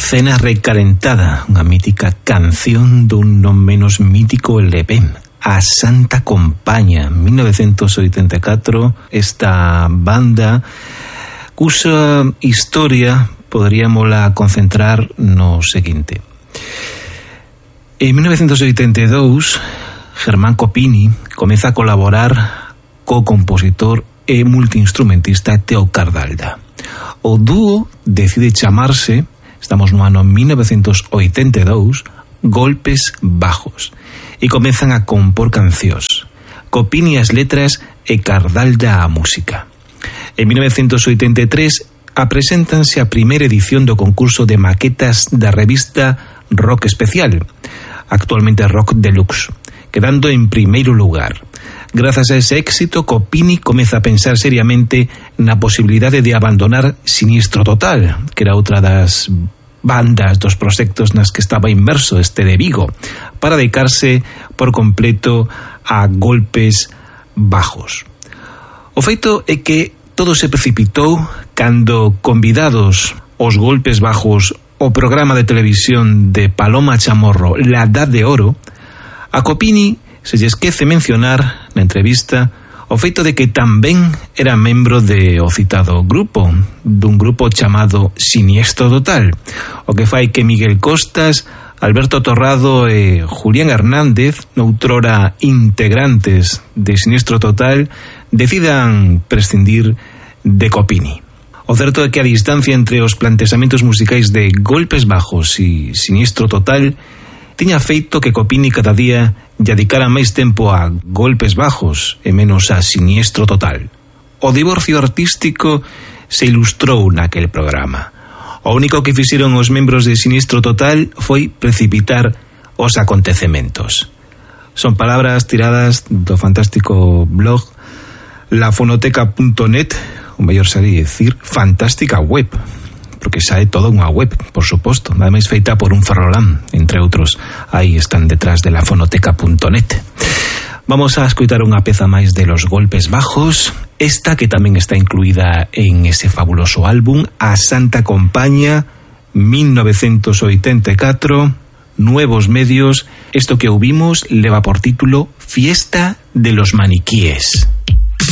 Cena recalentada, unha mítica canción dun non menos mítico LP, A Santa Compaña, 1984, esta banda cusa historia poderíamola concentrar no seguinte. En 1982, Germán Copini comeza a colaborar co compositor e multiinstrumentista Teo Cardalda. O dúo decide chamarse, estamos no ano 1982, Golpes Bajos, e comezan a compor cancións. Copini as letras e Cardalda a música. En 1983 apreséntanse a primeira edición do concurso de maquetas da revista Rock Especial, actualmente Rock Deluxe, quedando en primeiro lugar. Grazas a ese éxito, Copini comeza a pensar seriamente na posibilidade de abandonar Siniestro Total, que era outra das bandas dos proxectos nas que estaba inmerso este de Vigo, para dedicarse por completo a Golpes Bajos. O feito é que todo se precipitou cando, convidados os Golpes Bajos ao programa de televisión de Paloma Chamorro La Edad de Oro, a Copini se lle esquece mencionar na entrevista o feito de que tamén era membro de o citado grupo, dun grupo chamado Siniestro Total, o que fai que Miguel Costas, Alberto Torrado e Julián Hernández, noutrora integrantes de Siniestro Total, decidan prescindir de Copini. O certo é que a distancia entre os plantexamentos musicais de Golpes Bajos e Siniestro Total tiña feito que Copini cada día dedicara máis tempo a Golpes Bajos e menos a Siniestro Total. O divorcio artístico se ilustrou naquel programa. O único que fixeron os membros de Siniestro Total foi precipitar os acontecementos. Son palabras tiradas do fantástico blog lafonoteca.net, o mellor sería decir fantástica web, porque xa é toda unha web, por suposto, nada máis feita por un ferrolán, entre outros. Aí están detrás de lafonoteca.net. Vamos a escutar unha peza máis de los Golpes Bajos, esta que tamén está incluída en ese fabuloso álbum, A Santa Compaña, 1984, Nuevos Medios. Esto que ouvimos leva por título Fiesta de los Maniquíes.